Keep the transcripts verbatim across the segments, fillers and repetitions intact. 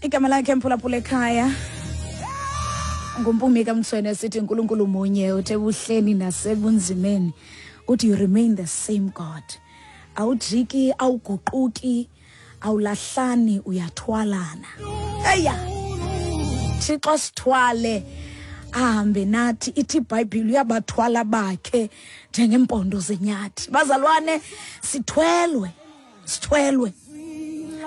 Igama lakhe mphulaphula ekhaya nguMpumi kaMthweni, sithi uNkulunkulu munye, uthe buhleni nasebunzimeni, uthi you remain the same God. Awujiki, awuguquki, awulahlani, uyathwalana. Eya Thixo sithwale, ahambe nathi. Ithi iBhayibhile uyabathwala bakhe njengempondo zenyathi. Bazalwane, sithwelwe, sithwelwe,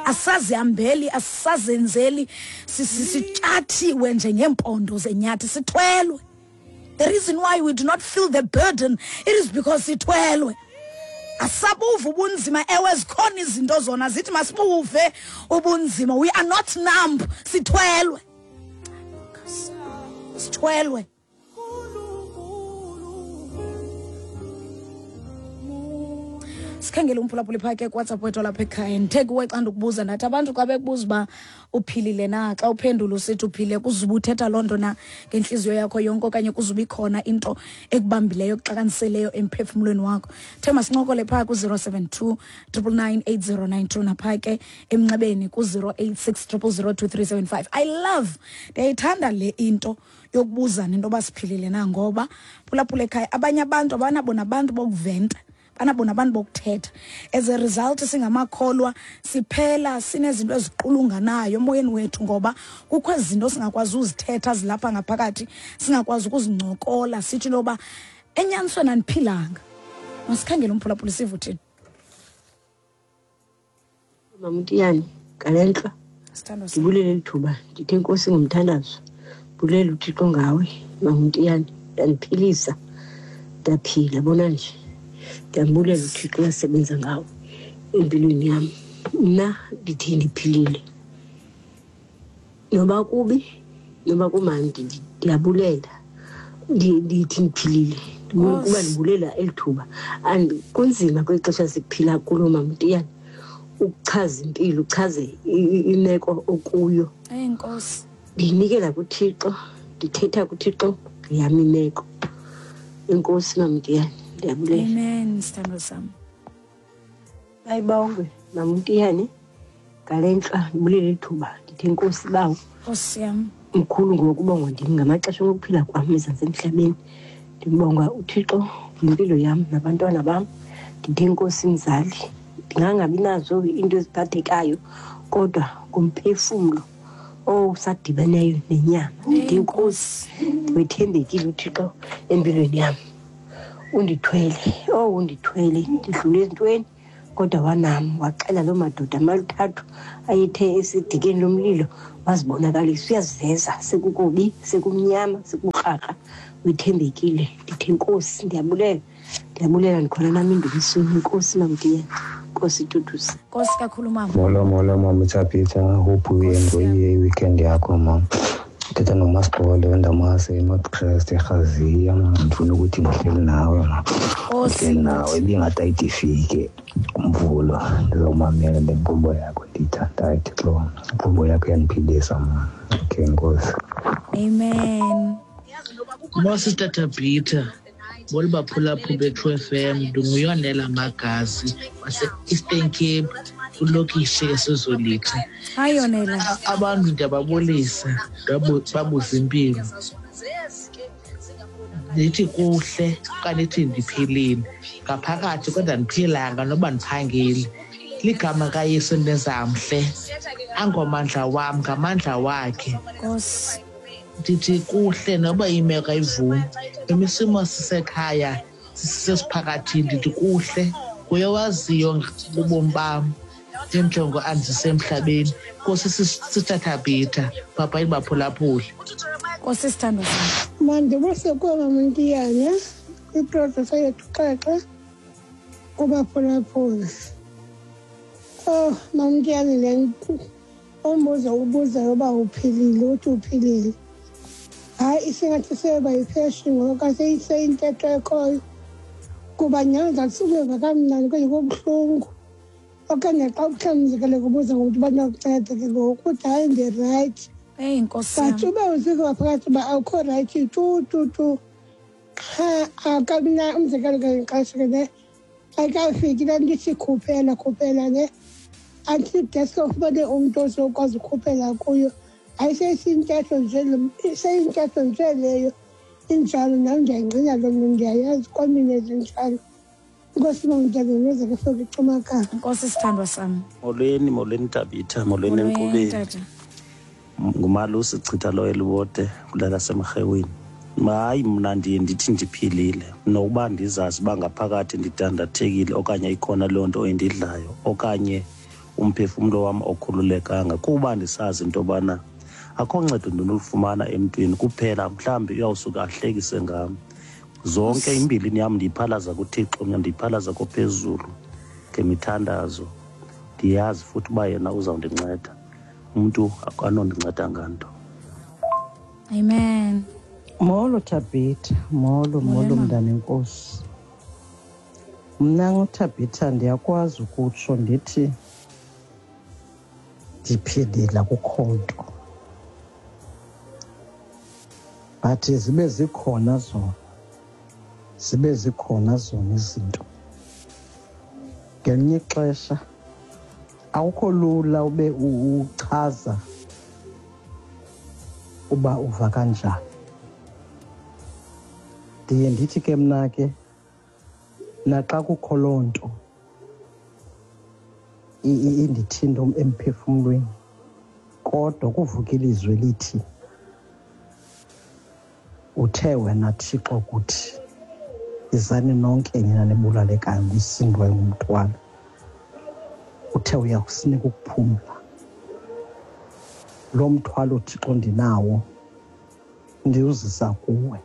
asazihambeli, asazenzeli, sitshathiwe njengempondo zenyathi, sithwelwe. The reason why we do not feel the burden, it is because sithwelwe. Asabuva ubunzima. Ewe, zikhona izinto zona zithi masibuve ubunzima. We are not numb, sithwelwe, sithwelwe. Sikhangele umphulaphuli phaa ke kuWhatsApp wethu lapha ekhaya. Ndithe kuwe xa ndikubuza, ndathi abantu xa bekubuza uba uphilile na, xa uphendula usithi uphile, kuzuba uthetha loo nto na ngentliziyo yakho yonke, okanye kuzuba ikhona into ekubambileyo, ekuxakaniseleyo emphefumlweni wakho? The masincokole phaa ku-zero seven two triple nine eight zero nine two, naphaa ke emnxebeni ku-zero eight six triple zero two three seven five. I love, ndiyayithanda le into yokubuzana into yoba siphilile na, ngoba phulaphula ekhaya abanye abantu abanabo nabantu bokuventa, banabo nabantu bokuthetha. As a result, singamakholwa siphela sinezinto eziqulunganayo emoyeni wethu, ngoba kukho izinto singakwazi uzithetha zilapha ngaphakathi, singakwazi ukuzincokola, sithi loba enyanisweni andiphilanga. Masikhangele umphulaphuli sive uthini. Mamtiyani ngalentla, ndibulele lithuba, ndithe inkosi ngomthandazo, bulela uThixo ngawe Mamtiyani, yandiphilisa ndaphila bona nje. Ndiyambulela uThixo uyasebenza ngawo empilweni yam. Mna ndithi ndiphilile, noba kubi noba kumandi, ndiyabulela, ndithi ndiphilile kuba ndibulela eli thuba. And kunzima kweli xesha siphila kulo Mamtiyani ukuchaza impilo, uchaze imeko okuyo. Enkosi. Ndiyinikela kuThixo, ndithetha kuThixo ngeyam imeko. Enkosi Mamtiyani, ndiyabulela. Amen, sithando sam. Ayibongwe Mamtiyani ngale ntla, ndibulele ithuba, ndithi enkosi bawo. Nkosi yam. Mkhulu ngokubongwa ndim ngamaxesha okuphila kwam ezantsi emhlabeni. Ndibonga uThixo ngempilo yam nabantwana bam. Ndithi enkosi mzali, ndingangabi nazo into eziphathekayo kodwa ngumphefumlo owusadibeneyo nenyama. Ndithi enkosi, wethembekile uThixo empilweni yam. Undithwele, oh undithwele, ndidlule ezintweni kodwa wanam, waxela loo madoda amathathu ayethe esidikeni lomlilo, wazibonakalisa, uyaziveza sekukubi, sekumnyama, sekukrakra, wethembekile. Ndithi enkosi, ndiyabulela, ndiyabulela, ndikhona nam endumisweni. Enkosi Mamtiyani, Nkosi Tutusi. Nkosi kakhulu mama. Molo, molo mama Thabitha, hope uyenjoyile i-weekend yakho mama. Thetha noMasixole weNdamase eNorth Crest eRhaziya. Ndifuna ukuthi ndihleli nawe ma, ndihleli nawe, ibingathi ayide umvulo ndizawumamela le nkqubo yakho ndiyithandayo. Thixo, inkqubo yakho iyandiphilisa ma. Okay, enkosi. Amen. Mo Sister Thabitha, bolo baphulaphula be-True F M, ndinguyonela Magazi wase-Eastern Cape, kulokishi eSozolitha. Hayi Yonela. Abantu ndiyababulisa, babuza impilo. Ndithi kuhle okanye ndithi ndiphilile ngaphakathi, kodwa ndiphilanga noba ndiphangile. Ligama kaYesu ndenzamhle, angomandla wam, ngamandla wakhe. Nkosi. Ndithi kuhle noba imeko ayivumi, noma isimo sisekhaya sisesiphakathini, ndithi kuhle nguye owaziyo ubomi bam njenjongo andisemhlabeni. Nkosi Sister Thabitha, papa ibaphulaphule. Nkosi sithando sam. Mandibuse kuwe Mamtiyane kwiprodusa yethu xexe kubaphulaphula. Oh Mamtiyane, le umbuzo ubuzayo uba uphilile, uthi uphilile. Hayi, isingathi seba yifashion ngoba seyintetho ekhoyo, kuba nyhani zakusukeva kamnandi kwenye kubuhlungu. Okanye xa uhlambuzekele kubuza ngomntu banokunceda ke ngoku, uthi hayi ndirayithi. Eyi nkosi yam. But uba uziva phakathi uba awukho rayithi tu tu tu, qha akabina umzekelo ke ngexesha ke ne ayikafiki laa nto ithi khuphela khuphela ne Until deske ufumane umntu ozokwazi ukhuphela kuyo. Ayiseyintetho nje, iseyintetho nje leyo injalo. Nam ndiyayingqina loo nto, ndiyayazi kwamine zinjalo. Nkosi mamdala, nozeke fike icumakala. Nkosi sithandwa sami. Molweni, molweni Tabitha, molweni enkqubeni. Ngumalusi Chitha lo eliwode kulala semrhewini. Hayi, mna ndiye ndithi ndiphilile nokuba ndizazi uba ngaphakathi ndidandathekile okanye ikhona loo nto endidlayo okanye umphefumlo wam okhululekanga, kuba ndisazi into yobana akho ncedo ndinolufumana emntwini kuphela mhlawumbi uyawusuka ahlekise ngam. Zonke imbilini yam ndiyiphalaza kuThixo, mna ndiyiphalaza kophezulu ngemithandazo. Ndiyazi futhi uba yena uzawundinceda, umntu akanondinceda nganto. Amen. Molo Tabitha, molo molo mntanenkosi. Mna nguThabitha, ndiyakwazi ukutsho ndithi ndiphilile, akukho nto. But zibe zikhona zona, zibe zikhona zona izinto. Ngelinye ixesha awukho lula ube uchaza uba uva kanjani. Ndiye ndithi ke mna ke naxa kukho loo nto indithinto emphefumlweni, kodwa kuvuka ilizwi lithi uthe wena Thixo kuthi izani nonke nina nibulalekayo nisindwe ngumthwalo, uthe uyakusinika ukuphumla. Lo mthwalo Thixo ndinawo ndiwuzisa kuwe.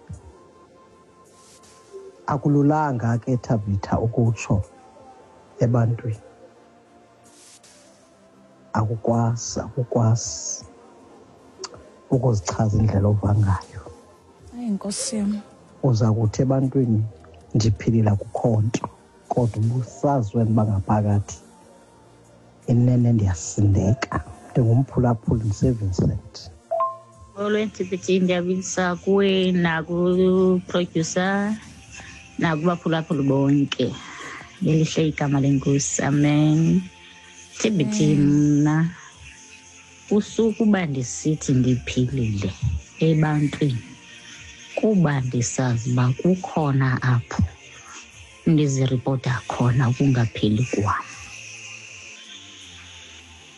Akululanga ke Tabitha ukutsho ebantwini, akukwazi akukwazi ukuzichaza indlela ova ngayo. Hayi Nkosi yam. Uza kuthi ebantwini ndiphilile akukho nto, kodwa ubusazi wena uba ngaphakathi inene ndiyasindeka, ndingumphulaphuli ndiseVincent. Molweni T P T, ndiyabulisa kuwe naku-producer nakubaphulaphuli bonke. Elihle igama lenkosi, amen. T B T, mna usukuba ndisithi ndiphilile ebantwini kuba ndisazi uba kukhona apho ndiziripota khona ukungaphili kwam.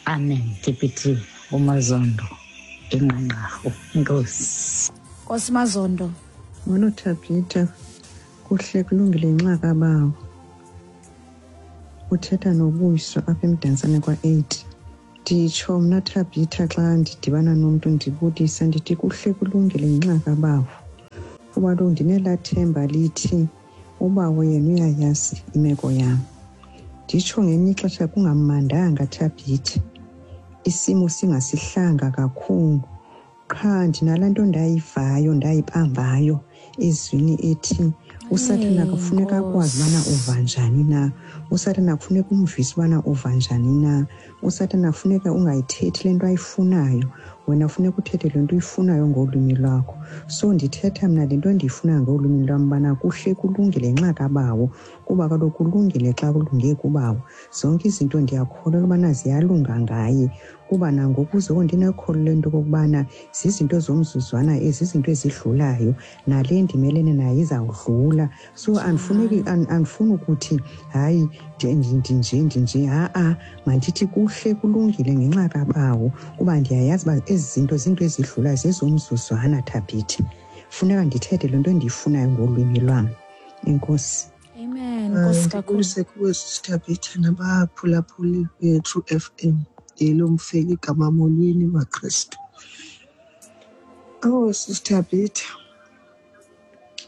Amen. T P T, uMazondo enqanqarhu. Enkosi. Nkosi Mazondo. Molo Tabitha, kuhle kulungile nxa kabawo. Uthetha noBuyiswa apha eMdantsane kwa-eight. Nditsho mna Tabitha xa ndidibana nomntu ndibulisa ndithi kuhle kulungile ngenxa kabawo. Kuba kaloku ndinelaa themba lithi ubawo yena uyayazi imeko yam. Nditsho ngelinye ixesha kungamandanga Thabitha, isimo singasihlanga kakhulu. Qha ndinalaa nto ndayivayo ndayibambayo ezwini ethi uSathana kufuneka akwazi ubana uva njani na, uSathana kufuneka umvise ubana uva njani na, uSathana kufuneka ungayithethi le nto ayifunayo, wena funeka uthethe le nto uyifunayo ngolwimi lwakho. So ndithetha mna le nto endiyifunayo ngolwimi lwam ubana kuhle kulungile ngenxa kabawo, kuba kaloku kulungile xa kulunge kubawo. Zonke izinto ndiyakholelwa ubana ziyalunga ngaye, kuba nangoku zoko ndinokholo lento okokubana zizinto zomzuzwana ezi, zizinto ezidlulayo, nale ndimelene nayo izawudlula. So andifuneki andifuni ukuthi hayi ndinje ndinje, ha-a, mandithi kuhle kulungile ngenxa kabawo, kuba ndiyayazi uba ezi zinto zinto ezidlulayo, zezomzuzwana Thabitha. Funeka ndithethe le nto endiyifunayo ngolwimi lwam. Enkosi. Amen. Nkosi kakhulu. Ndibulise kuwe Thabitha nabaphulaphuli be-True F M. Yelomfeli igama, molweni maKrestu. Oh Sister Thabitha,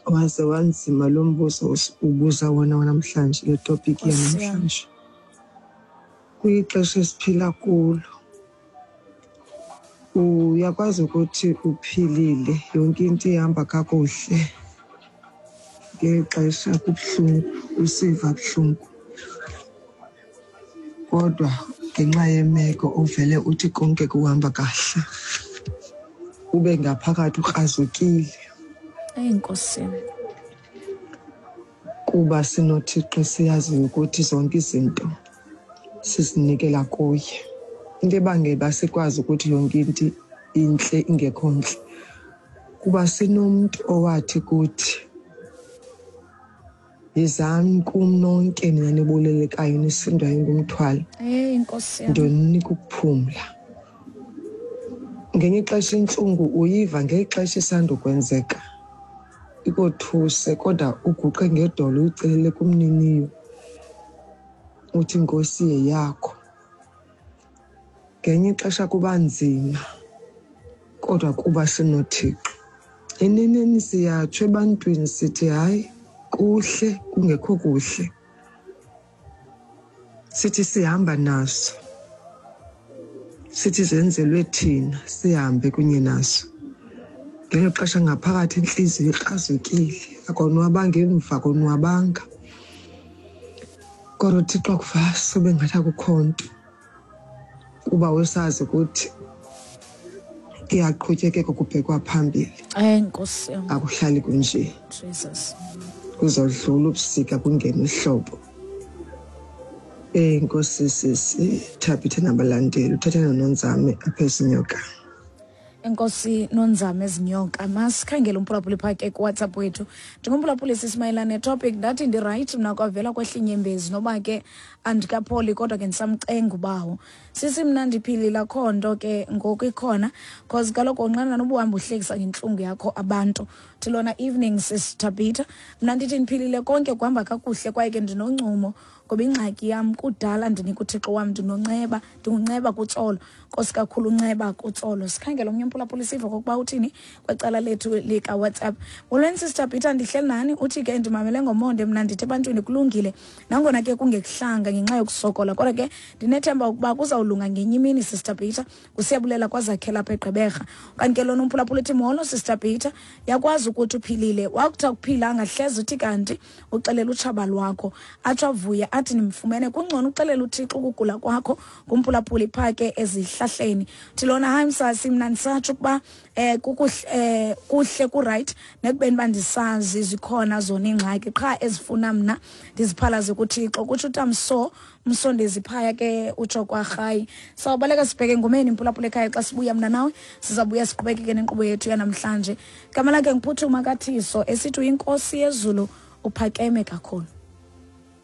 waze wanzima lo mbuzo ubuza wona wanamhlanje, le topic yanamhlanje. Kwixesha esiphila kulo uyakwazi ukuthi uphilile, yonke into ihamba kakuhle, ngexesha kubuhlungu, usiva buhlungu, kodwa ngenxa yemeko uvele uthi konke kuhamba kahle, ube ngaphakathi ukrazukile. Eyi Nkosi. Kuba sinoThixo siyaziyo ukuthi zonke izinto Sisinikela kuye. Into ebangela uba sikwazi ukuthi yonke into intle ingekho ntle kuba sinomntu owathi kuthi, yizani kum nonke nina nibulelekayo nisindwayo ngumthwalo, Hey Nkosi yam, ndoninika ukuphumla. Ngenye ixesha intlungu uyiva ngexesha isandokwenzeka, ikothuse, kodwa uguqe ngedolo uyicelele kumniniyo, uthi Nkosi yeyakho. Ngenye ixesha kuba nzima, kodwa kuba sinoThixo. Eneneni siyatsho ebantwini sithi hayi kuhle kungekho kuhle, sithi sihamba naso, sithi zenzelwe thina sihambe kunye naso. Ngelo xesha ngaphakathi intliziyo ikrazukile, akonwabanga emva akonwabanga, kodwa uThixo akuvasi ube ngathi akukho nto, kuba usazi ukuthi kuyaqhutyekeka kubhekwa phambili. Hey Nkosi yam, akuhlali kunje. Jesus. Kuzodlula ubusika kungena ihlobo. Eh Nkosi sisi Thabitha nabalandeli, uthatha noNonzame apha ezinyoka. Enkosi Nonzame ezinyoka. Masikhangele umphulaphuli phaa ke kuWhatsApp wethu. Njengomphulaphuli sisimayelana netopic, ndathi ndirayithi mna kwavela kwehla inyembezi noba ke andikapholi, kodwa ke ndisamcenga ubawo. Sisi mna ndiphilile, akho nto ke ngoku ikhona, cause kaloku unqena noba uhamba uhlekisa ngentlungu yakho abantu. Thi lona evening sis Thabitha, mna ndithi ndiphilile, konke kuhamba kakuhle kwaye ke ndinoncumo ngoba ingxaki yam kudala ndinika uThixo wam, ndinonceba, ndingunceba kuTsolo. Nkosi kakhulu unceba kuTsolo. Sikhangele omnye umphulaphuli sive okokuba uthini kwecala lethu likaWhatsApp. Molweni Sister Peter, ndihleli nani. Uthi ke ndimamele ngomonde, mna ndithi ebantwini kulungile nangona ke kungekuhlanga ngenxa yokusokola, kodwa ke ndinethemba ukuba kuzawulunga ngenye imini Sister Peter. Kusiyabulela kwazakhela apha eGqeberha. Kanti ke lona umphulaphuli uthi molo Sister Peter, yakwazi ukuthi uphilile, wakuthi akuphilanga hleze uthi kanti uxelela utshaba lwakho, atsho avuye athi nimfumene. Kungcono uxelela uThixo ukugula kwakho. Ngumphulaphuli phaa ke ezihlahleni. Thi lona hayi msasi, mna ndisatsho ukuba eh kukuhle, eh kuhle ku-right nekubeni uba ndisazi zikhona zona iingxaki qha ezifuna mna ndiziphalaze kuThixo, kutsho uTamso Msondezi phaya ke utsho kwarhayi. Sawubaleka sibheke ngomeni mphulaphula ekhaya. Xa sibuya mna nawe sizabuya siqhubekeke nenkqubo yethu yanamhlanje. Gama lakhe ngiphuthuma kaThiso esithi uyinkosi yezulu, uphakeme kakhulu.